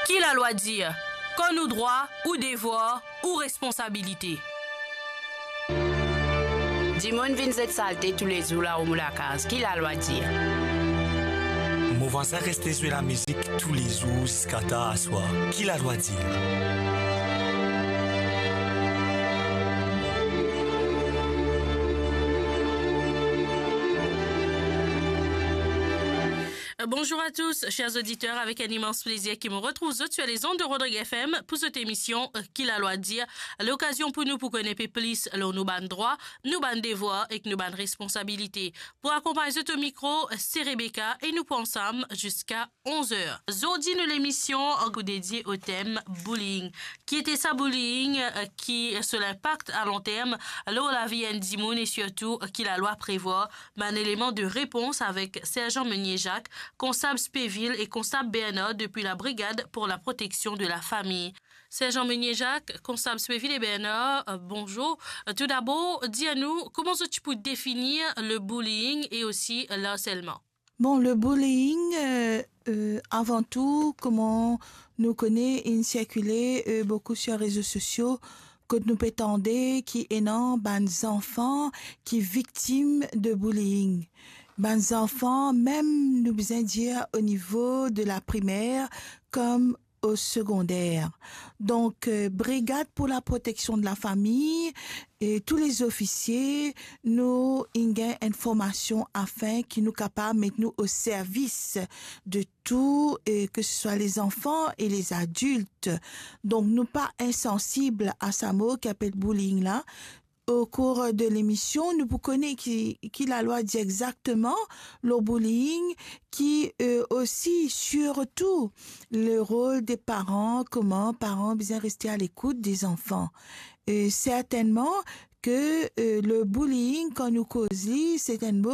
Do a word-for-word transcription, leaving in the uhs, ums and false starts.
Ki lalwa dir? Kan nou drwa, ou devwar, ou responsabilite. Dimoun vinn zet salte toulezour lao mo lakaz, ki lalwa dir? Mo vwazin reste zwe lamizik toulezour ziska tar aswar, ki lalwa dir? Bonjour à tous, chers auditeurs, avec un immense plaisir que me retrouve zot sur les ondes de Rodrigue F M pour cette émission, euh, Ki lalwa dir, lokazion pou nou pou kone pe plis lor nou bann drwa, nou bann devwar ek nou bann responsabilite. Pou akonpagn zot o mikro, se Rebecca e nou pou ansam ziska onz er. Zordi nou lemision pou dedie o tem bullying. Ki ete sa bullying, euh, ki so linpak a long term lor lavi enn dimoun e sirtou ki lalwa prevwar, bann eleman de repons avek Serjan Meunier Jacques, konstab Speville e konstab Bernard depi la Brigade pour la Protection de la Famille. Serjan Meunier Jacques, konstab Speville e Bernard, euh, bonjour. Euh, tou dabor, dir nou, kouma zot ti pou definir le bullying e osi le harcèlement? Bon, le bullying, euh, euh, avan tou, kouma nou kone, inn sirkile, euh, boukou sur rezo sosio, kot nou pe tande ki ena bann zanfan ki viktim de bullying. Bann zanfan, mem nou bizin dir o nivo de la primer, kom o segonder. Donk, euh, Brigade pour la Protection de la Famille e tou lezofisie, nou inn gagn enn formasion afin ki nou kapav met nou o servis de tou, e ke se swa lezanfan e lezadilt. Donk, nou pa insansib a sa mo ki apel bullying la. O kour de lemision, nou pou kone ki, ki lalwa dir exakteman lor bullying, ki, euh, osi, sirtou, le rol de paran, kouma paran bizin reste a lekout de zanfan. Euh, sertennman ke, euh, le bullying, kan nou koz li, se enn mo